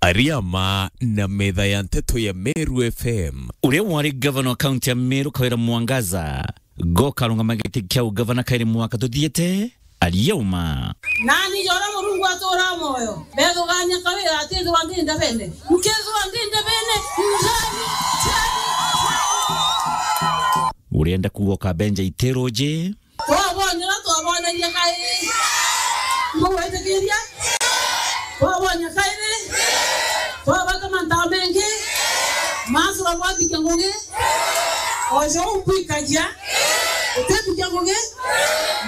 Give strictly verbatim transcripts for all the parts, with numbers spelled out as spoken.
Ariama na metha ya nteto ya Meru F M. Uria wari gavana wa kaunti ya Meru, Kawira Mwangaza, goka arungama giti kia ugavana kairi mwaka tuthiite, ariauma. Nani jora Murungu atura moyo, mbethugania Kawira atithirwa ndi ndebene. Nkethirwa ndi ndebene, njani, njani, njani. Urienda kuuga ukabenja itiruji? Twabonera, twaboneria kairi. Mbugwitikiria? Twabonia kairi. Twabata mantu mengi. Maso bwathikia ngugi. Ojo umbwikagia. Utithikia ngugi.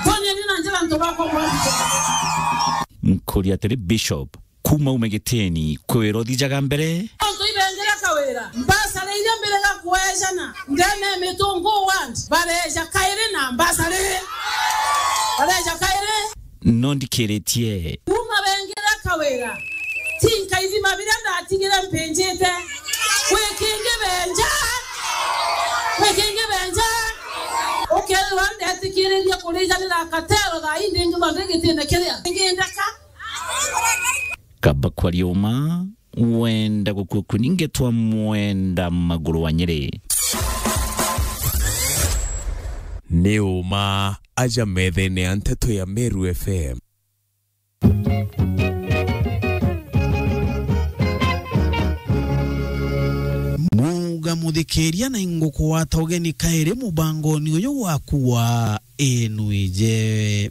Mboneri na njira antu bakwa bwathikia ngugi. Nkuria atiri, Bishop, kuma ume gitini, kwi wira uthijaga mbere? Antu ibengera Kawira, mbasara iria mbirega kwejana, ndene Mitungu ward, bareja kairi na mbasara. Bareja kairi. No ndikiritie. Kuma bengera Kawira, tinkaithima biria ndatigire mpinjite. Kwi kingi benja. Kwi kingi benja. Ukeethirwa ndetikiririe kurijanira katero thaa ii ndingithwa ndi gitine kiria. Ngindeka. Kaba kwaria uma, wenda gukua kuni ngetwa mwenda maguru wa Nyeri. Ni uma aja methene ya nteto ya Meru F M. Muga muthikiria na ingukugwata ugeni kairi mubangoni uyu waku wa Inwije.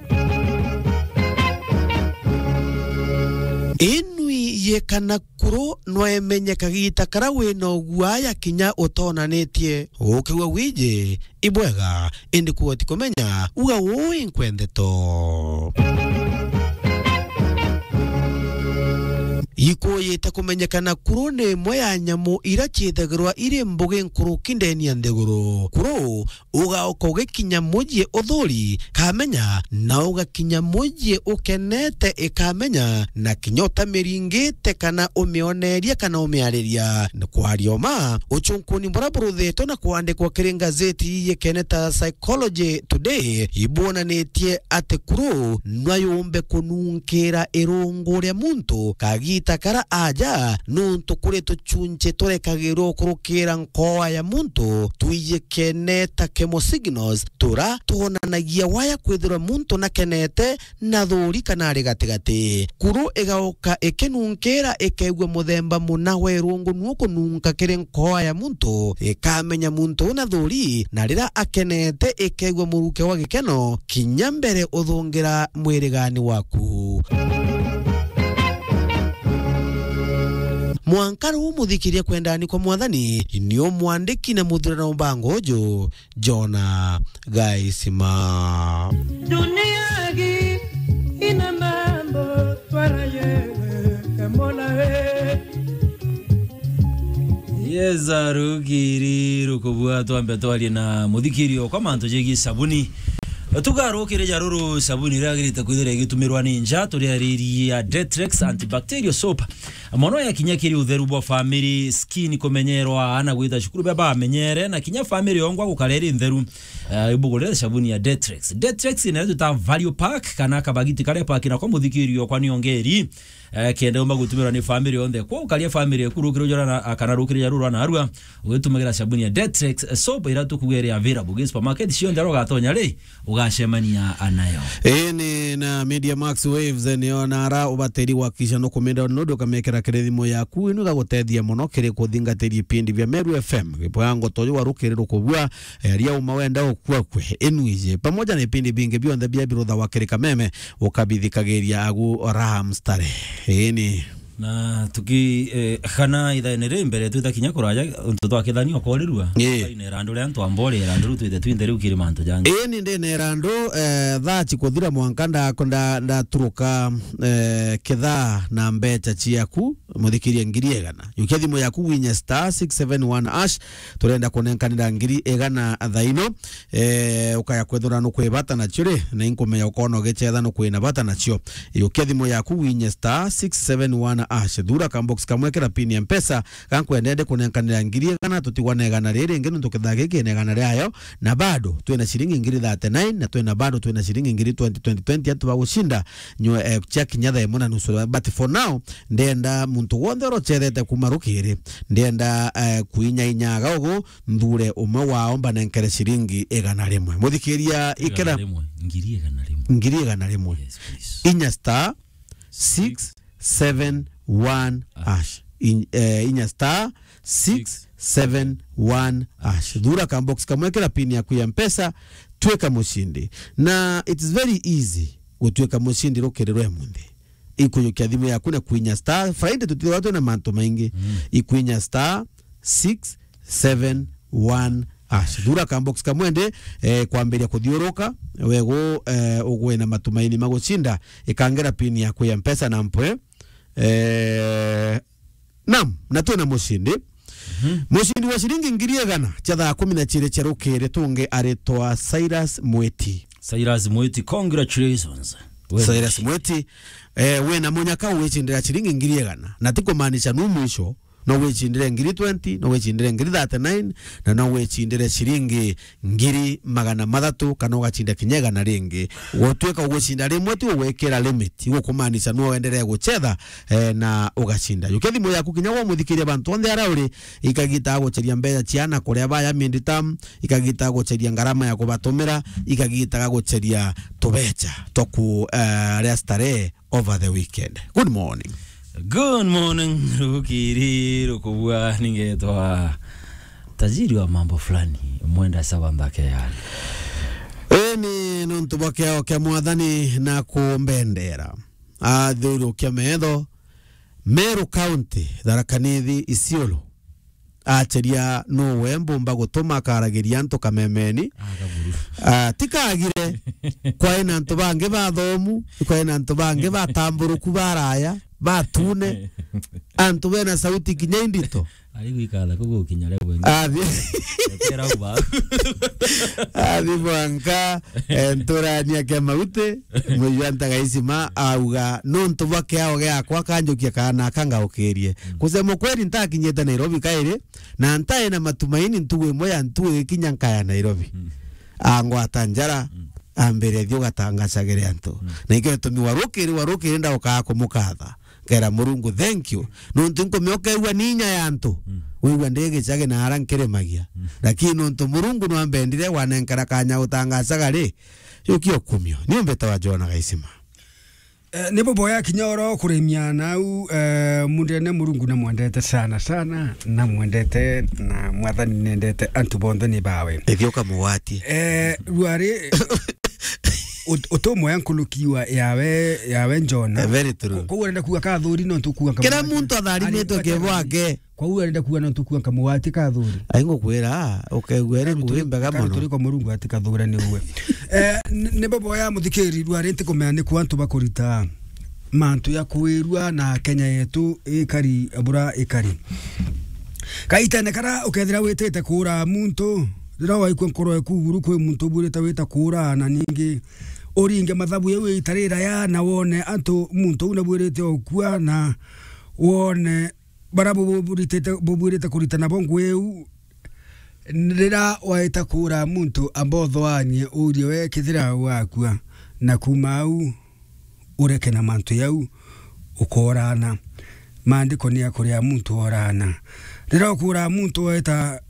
Inwije kana kuru no emenye kagiita kara wina uguaya kinya utonanitie. Ukigua wiji, ibwega, indi kuuga ti kumenya, uga uu inkwendeto. Ikuyite kumenyekana kuru ni imwe ya nyamu ira ciithagirwa iri mbugi nkuruki ndeni ya nthiguru. Kuru ugaoka ugikinya muji uthuri kamenya, na ugakinya muji ukenete ikamenya, na kinya utamiringite kana umioneria kana umiariria. Kwaria uma, ucunkuni buria buruthetwe na kwandikwa kiri ngazeti yikene ta Psychology Today, ibwonanitie ati kuru no yumbe kununkira irungu ria muntu kagiita kara aja, nuntu kuri tucunci turekagirwa ukurukira nkoa ya muntu twiji kene ta chemo signals, tura twonanagia waya kwithirwa muntu nakenete, na thuri kana ari gatigati. Kuru igauka ikinunkira, ikeegua muthemba muna wa irungu nuo kununka kiri nkoa ya muntu, ikamenya muntu una thuri, na riria akenete, ikeegua muruke wa gikeno, kinya mbere uthungira mwirigani waku. Mwanka ruu muthikiria kwendani kwa Mwathani, ni umwandiki na muthurano mbango uju, Jona Gaisima. Dunia hii ina mambo twaraye, Mola we. Yes, rugiri rukubua, twambe twarie na muthikirio kwa mantu jegii sabuni. Tugarukire ja ruru sabuni iria yagirite kwithira igitumirwa ni nja, turiaririe ya Detrex antibacterial soap. Mono yakinya kiri utheru bwa family, skin kumenyerwa, ana gwita cukuru bia bamenyere, na kinya family yongwa gukara iri ntheru. Eh, ibugurire sabuni ya Detrex. Detrex ni twita value pack, kana kabagiti karia pack nako muthikirio kwa niongeri. Eh, kenda umba gutumirwa ni family yonthe. Kwa ukaria family eku rukiri ujora na, kana rukiri ja ruru na arua, ugitumagira sabuni ya Detrex, eh, soap ira tukuga iri available gi supermarket cionthe aria ugatonya ri, ugacemania nayo. Ii ni na Media Max Waves, eh, niyo nara ubatiri gwakikisha nukumenda nundu ukamekera kiri thimu yaku, inu igagutethia mono kiri kuthingatiria ipindi bia Meru F M. Gipango toju wa rukiri rukubua, eh, aria uma wenda ukua kwe, Inwije. Pamoja na ipindi bingi bionthe bia birutha wa kiri kameme, ukabithikagiria agu raha mstare. Ii ni. Na tuki, eh, kana ithaene ri mbere twita kinya kuraja, untu twakithania ukorirua. Ii. Ina irandu ria antu ambori, irandu riu twite twinthe riu kiri mantu jangi. Ii ni ndina irandu, eh, thaa cikuthira mwanka nda-, nda-, ndaturuka, eh, kithaa na mbecha ciaku, muthikirie ngiri igana. Yukia thimu yaku winye star six seven one hash, turenda kunenkanira ngiri igana thaino. Eh, ukaya kwethira nukwibata nacio ri, na inkumenya ukona ugicetha nukwina bata nacio. Yukia thimu yaku winye star six seven one hash. Thura ka box kamwe kira pin ya Mpesa, gankwendende kunenkanira ngiri igana, tutigwa na igana riri ringi nuntu kithaa giki na igana riayo, na bado twina ciringi ngiri thirty-nine, na twina bado twina ciringi ngiri twenty, twenty, twenty, antu bagucinda nywe, eh, cia kinya thaa imwe na nusu. But for now, ndenda muntu muntu wonthe uria ucethete kuma rukiri, ndienda, eh, kuinyainyaga ugu, nthure umwe wao mbanenkere ciringi igana rimwe. Muthikiria, ikira rimwe, ngiri igana rimwe. Ngiri igana rimwe. Yes, please. Inya star six seven one hash. In-, eh, inya star six seven one hash. Thura ka box kamwe, kira pin yaku ya Mpesa, twika mucindi. Na it is very easy gutwika mucindi rukiri rwa munthi. Ikujukia thimu yaku na kuinya star. Friday tutithirwa twina mantu maingi. Mm. Ikuinya star six seven one hash. Thura ka box kamwe ndi, eh, kwambiria kuthiuruka, wegu, eh, ugwe na matumaini ma gucinda, ikangira pin yaku ya Mpesa na mpwe. Eh, naam, na twina mucindi. Mhm. Mucindi wa ciringi ngiri igana cia thaa kumi na ciiri cia rukiri tungi aritwa Cyrus Mwiti. Cyrus Mwiti, congratulations. Wewe. Cyrus Mwiti, eh, wina munyaka wicindira ciringi ngiri igana. Na ti kumaanisha nu mwisho, no wicindire ngiri twenty, no wicindire ngiri thirty-nine, na no wicindire ciringi ngiri magana mathatu, kana ugacinda kinya igana ringi. Gutwika ugucinda rimwe ti ugwikira limit, igukumaanisha no uendelee gucetha, eh, na ugacinda. Jukia thimu yaku kinya wamuthikiria bantu onthe aria uri, ikagita guceria mbeca ciana kuria baya mindi tam, ikagita guceria ngarama ya kubatumira, ikagita guceria tubeca twa ku, eh, ria starehe over the weekend. Good morning. Good morning, rukiri rukubua, ningetwa tajiri wa mambo fulani, mwenda sawa mbake yani. Eni nontu bwa kiao kia Mwathani na kumbendera. Athurukia metho, Meru County, Tharaka Nithi, Isiolo. Acheria nuwe mbumba gutuma akaragiria antu kamemeni. Ah, kaburu. Ah, tikagire. Kwai na antu bangi bathomu, kwai na antu bangi batamburuku, baraya, batune. Antu bena sauti kinya indito. Ari gwikatha kugukinya leo wengi. Athi. Ekera uba. Athi mwanka, eh, nturania kia mauti. Mwijua Ntagaicima auga, nontu bwa kiao giakwa kanjukia kana kangaukirie. Mm. Kusema kweli, ntakinyite Nairobi kairi, na ntae na matumaini ntugu imwe ya ntugu igikinya nkaya Nairobi. Mm. Angwata njara, mm, ambire, "Thi ugatangacagire antu." Mm. Na ikio gitumi warukiri, warukiri ndaukaa kumukatha. Ngera Murungu, "Thank you." Nontu nkumioka igua ni inya ya antu. Mm. Wigua ndi gicagi na ara nkirimagia. Mm. Lakini nontu Murungu nwambendire, wanenkera kanya utangacaga ri, Yukio kumio. Ni umbeta wa Jona Gaisima. Eh, ni buboya kinya oro kuremia nau, eh, mundene Murungu na mwendete sana sana, na mwendete na Mwathani nendete antu bonthe ni bawe. Ithioka mugwati. Eh, rwari ut-, utumwe nkuruki wa yawe, yawe Jona. Eh, very true. Ko-, ko urenda kuga kathuri no tukuga. Kira muntu atharimitwe kibwake. Kwou arenda kuga no tukua nkamugwati kathuri. Ai ngukwira, ukaigua ri ngugi mbega mono. Turi kwa Murungu ati kathura ni uwe. Eh, n-, ni bobo ya muthikiri rwa ri ntikumenya ni ku antu bakurita mantu ya kwirua na Kenya yetu ikari bura ikari. Kaitene kara ukethira witite kura muntu, rira waikua nkoro eku iguru kwi muntu ubwirite wita kura na ningi uringe mathabu yau itarira ya na wone antu muntu una bwirite okua na wone bara buburitite, bubuirite kurita nabo ngugi iu, rira waita kuura muntu amba uthoanie uurie we kethira wakua, na kuuma au ureke na mantu jau ukoorana. Maandiko ni akuria muntu oorana. Rira ukuura muntu waita